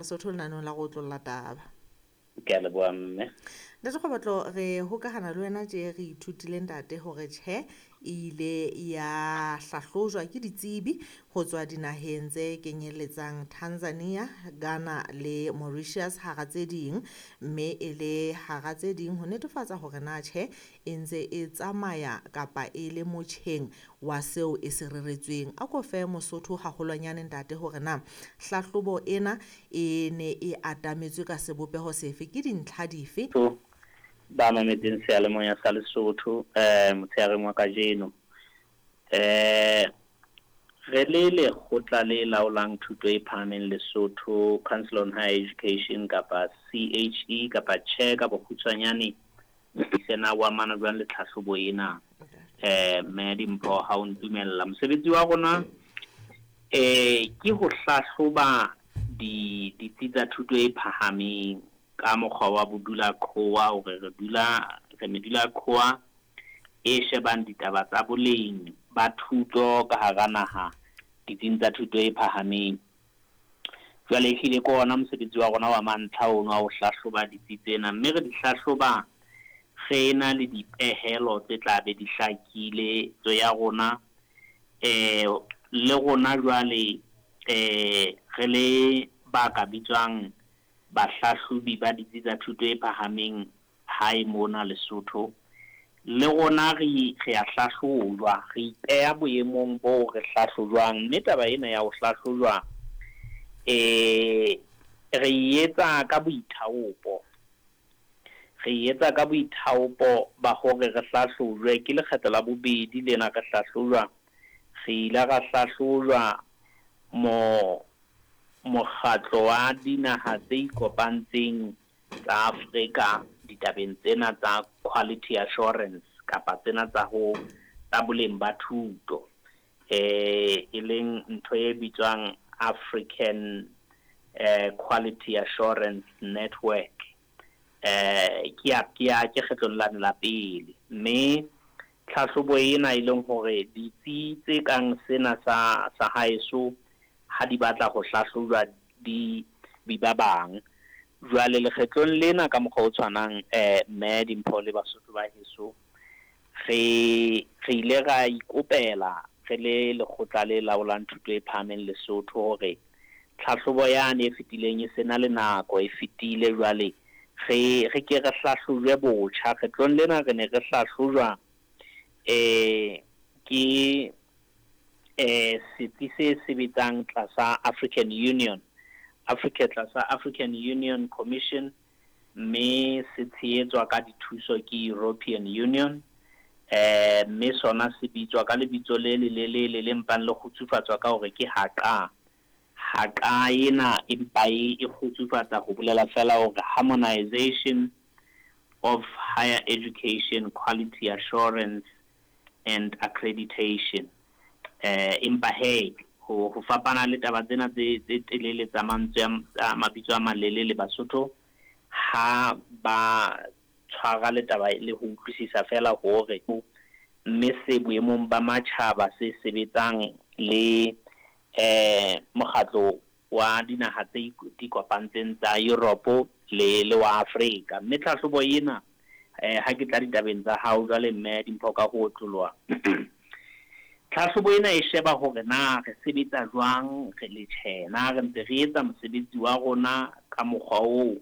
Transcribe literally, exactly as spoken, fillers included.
Lesotho lenaneong la go otlolla taba. Ke a leboha mme. Ntate Kgobotlo, re hokahana le wena tje re ithutile ntate hore tjhe e ile ya hlahlojwa ke ditsebi ho tswa dinaheng tse kenyelletsang Tanzania, Ghana le Mauritius hara tse ding, mme e le hara tse ding ho netefatsa hore na tjhe e ntse e tsamaya kapa e le motjheng wa seo e se reretsweng. A ko fe Mosotho haholwanyane ntate hore na hlahlobo ena e ne e atametswe ka sebopeho sefe, ke dintlha dife? Ba mametseng seyalemoya sa Lesotho eh motsheareng wa kajeno, eh re le lekgotla le laolang thuto e phahameng Lesotho, Council on Higher Education kapa C H E kapa CHE ka bokgutshwanyane, sena wa amana jwang le tlhahlobo ena? Eh mme Dimpho, ha o ntumella, mosebetsi wa rona eh ke ho hlahloba di ditsi tsa thuto e phahameng ka mokgwa wa bodula qhowa, hore re dula re medula qhowa e shebang ditaba tsa boleng ba thuto ka hara naha ditsing tsa thuto e phahameng. Jwale ehlile ke ona mosebetsi wa rona wa mantlha ono wa ho hlahloba ditsi tsena, mme re di hlahloba re na le dipehelo tse tla be di hlakile tso ya rona. Eh le rona jwale eh re le ba ka bitswang bahlahlobi ba ditsi tsa thuto e phahameng hae mona Lesotho, le rona re re a hlahlojwa, re ipeha boemong bo re hlahlojwang. Mme taba ena ya ho hlahlojwa eh re e etsa ka boithaopo, re e etsa ka boithaopo ba hore re hlahlojwe. Ke lekgetlo la bobedi lena re hlahlojwa, re ile ra hlahlojwa mo mokgatlo wa dinaha tse ikopantseng tsa Afrika ditabeng tsena tsa quality assurance kapa tsena tsa ho tsa boleng ba thuto, eh e leng ntho e bitswang African eh Quality Assurance Network. Eh ke ya ke ya ke kgetlong la la pele, mme tlhahlobo ena e leng hore ditsi tse kang sena sa sa haeso ha di batla ho hlahlojwa di bi ba bang. Jwale lekgetlong lena ka mokgwa o tshwanang eh mme Dimpho le Basotho ba heso, re re ile ra ikopela re le lekgotla le laolang thuto e phahameng Lesotho hore tlhahlobo yane e fetileng e sena le nako e fetile, jwale re re ke re hlahlojwe botjha. Kgetlong lena re ne re hlahlojwa eh ke eh setsi se sebetsang tlasa African Union, Africa tlasa African Union Commission, mme se tshehetswa ka dithuso ke European Union. Eh mme sona se bitswa ka lebitso le le le le le le mpang le kgutsufatswa ka hore ke HAQA. HAQA ena empa e kgutsufatsa ho bolela fela hore Harmonization of Higher Education Quality Assurance and Accreditation. Eh empa he ho ho fapana le taba tsena tse tse telele tsa mantswe a mabitso a malelele, Basotho ha ba tshwara le taba le ho utlwisisa fela hore mme se boemong ba matjhaba se sebetsang le eh mokgatlo wa dinaha tse di kopantseng tsa Europe le le wa Afrika. Mme tlhahlobo ena eh ha ke tla ditabeng tsa hao jwale mme Dimpho ka ho otloloha, tlhahlobo ena e sheba hore na re sebetsa jwang re le tjhena, re ntse re etsa mosebetsi wa rona ka mokgwa oo